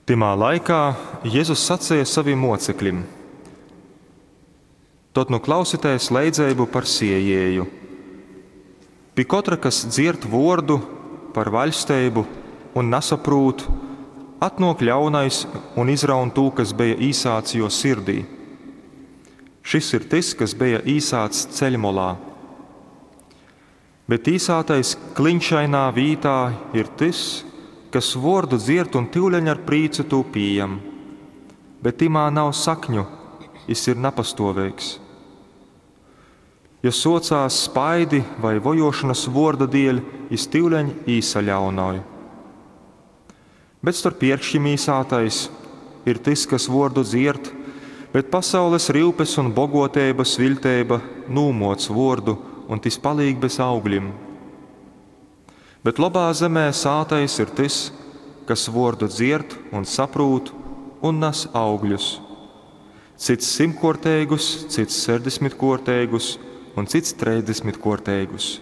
Tymā laikā Jezus saceja sovim mōceklim, Tod nu klausitēs leidzeibu par sējēju. Pi kotra, kas dzierd vōrdu par vaļsteibu un nasaprūt, atnōk ļaunais un izraun tū, kas beja īsāts jō sirdī. Šys ir tys, kas beja īsāts ceļmolā. Bet īsātais kliņšainā vītā ir tys, kas vōrdu dzierd un tyuleņ ar prīcu tū pījam. Bet tymā nav sakņu, jys ir napastōveigs. Ja sōcās spaidi vai vojōšonas vōrda dieļ, jys tyuleņ īsaļaunoj. Bet storp ierkškim īsātais ir tys, kas vōrdu dzierd, bet pasaules ryupes un bogōteibas viļteiba nūmōc vōrdu, un tys palīk bez augļim. Bet lobā zemē sātais ir tys, kas vōrdu dzierd un saprūt un nas augļus. Cyts symtkōrteigus, cyts sešdesmitkōrteigus un cyts trejsdesmitkōrteigus.